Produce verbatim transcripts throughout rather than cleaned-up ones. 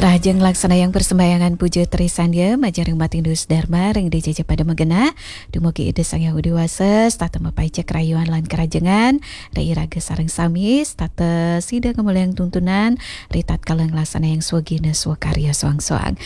Rahajeng nglaksanayang persembahyangan puja trisandia majeng ring Matindus Dharma ring dija pada magenah. Dumugi Ida Sang Hyang Widhi Wasa, setata mapaica karahayuan lan karahajengan ring iraga sareng sami, setata sida ngamuliang tuntunan ri tatkala nglaksanayang swagina swakarya soang-soang.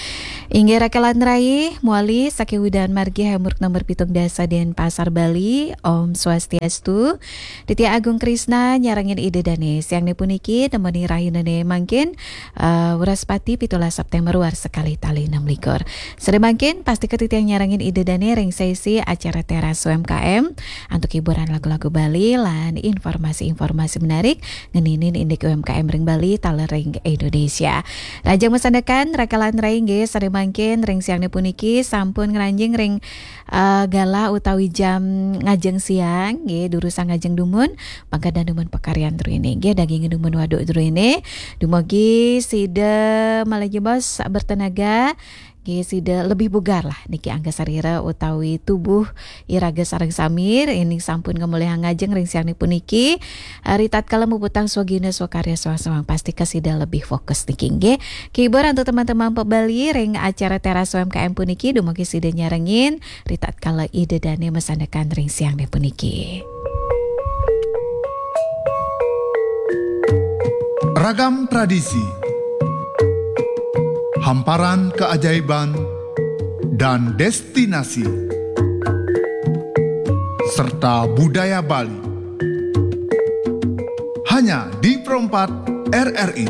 Inggih raka lan rai, mawali saking Widhan Margi Hamurk nomor pitung dasa Denpasar Bali, Om Swastiastu. Titiang Agung Krisna nyarengin Ida Dane. Siangne puniki nemoni rahinane mangkin, eh, Wraspati pitulas September warsa kalih tali enam likur. Sore mangkin, pastika titiang nyarengin Ida Dane ring sesi acara Teras U M K M antuk hiburan lagu-lagu Bali lan informasi-informasi menarik ngeninin indik U M K M ring Bali taler ring Indonesia. Rahajeng masandekan, raka lan rai nggih, sore mangkin ring siangne puniki sampun ngranjing ring eh, galah utawi jam ngajeng siang, nggih, durusang ngajeng dumun, pangkah dumun pakaryan druene, nggih, daging dumun waduk druene, dumugi sida malih jebos bertenaga, nggih, sida lebih bugar lah, niki angga sarira utawi tubuh iraga sareng sami, ring sampun ngamolihang ngajeng ring siangne puniki, eh, ri tatkala muputang swagina swakarya soang-soang, pastika sida lebih fokus niki, nggih. Kibur antuk teman-teman pebali ring acara Teras U M K M puniki, dumugi sida nyarengin, ri tatkala Ida Dane masandekan ring siangne puniki. Ragam tradisi, hamparan keajaiban, dan destinasi, serta budaya Bali. Hanya di Pro empat R R I.